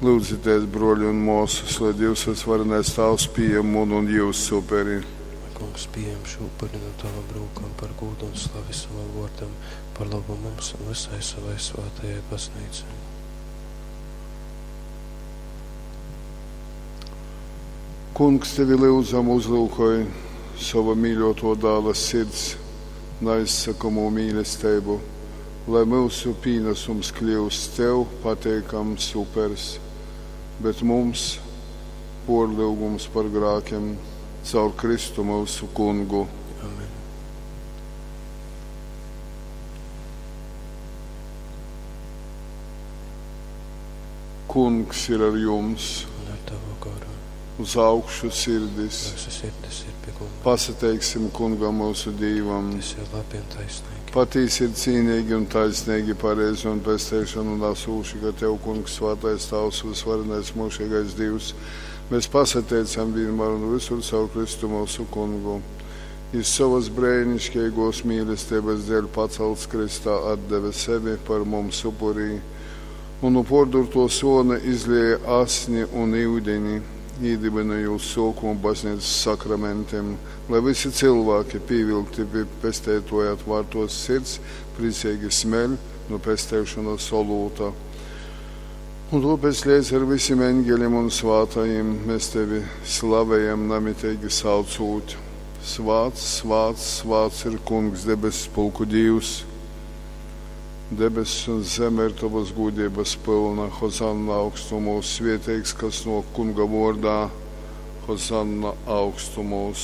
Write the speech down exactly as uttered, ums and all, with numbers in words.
Lūdzieties, broļi un māsas, lai Dievs visvarenais Tēvs pieņem manu un jūsu uperi. Lai Kungs pieņem šo upuri no tavam rūkam par gūdu un slavi savam vārdam, par labu mums un visai savai svētajai baznīcai. Kungs, tevi lūdzam, uzlūkoj sava mīļoto dēla sirds neizsakamo mīlestību, lai mūsu pienesums kļūst tev pateikams upers, bet mums porlūgums par grēkiem caur Kristu mūsu kungu. Amen. Kungs ir ar jums, Un ar tavu garu. uz augšu sirdis. Mūsu sirdis ir pie kunga. Pasateiksim kungam mūsu dīvam. Tas ir labi un taisnīgi. Patiesi ir cīnīgi un taisnīgi, pareizi un pestīšanu nesūši, ka tev, kungs, svētais tavs, visvarenais mūžīgais Dievs, mēs pasateicam vienmēr un visur caur Kristu mūsu kungu. Iz savas brēnišķīgos mīlestības dēļ pacelts Kristā atdeve sevi par mums upurī, un no pordurto sona izlieja asni un ūdeni, iedibinājot sokumu baznīcas sakramentiem, lai visi cilvēki pievilkti pie pestētoja atvērtos sirds, priecīgi smeļ no pestēšanas olūta. Un tāpēc līdz ar visiem eņģeļiem un svātajiem mēs tevi slavējam, namitīgi saucot. Svāts, svāts, svāts ir kungs debesu pulku Dievs. Debesis un zeme ir tavas gudrības pilna. Hozanna augstumos, svētīgs, kas no kunga vārdā. Hozanna augstumos.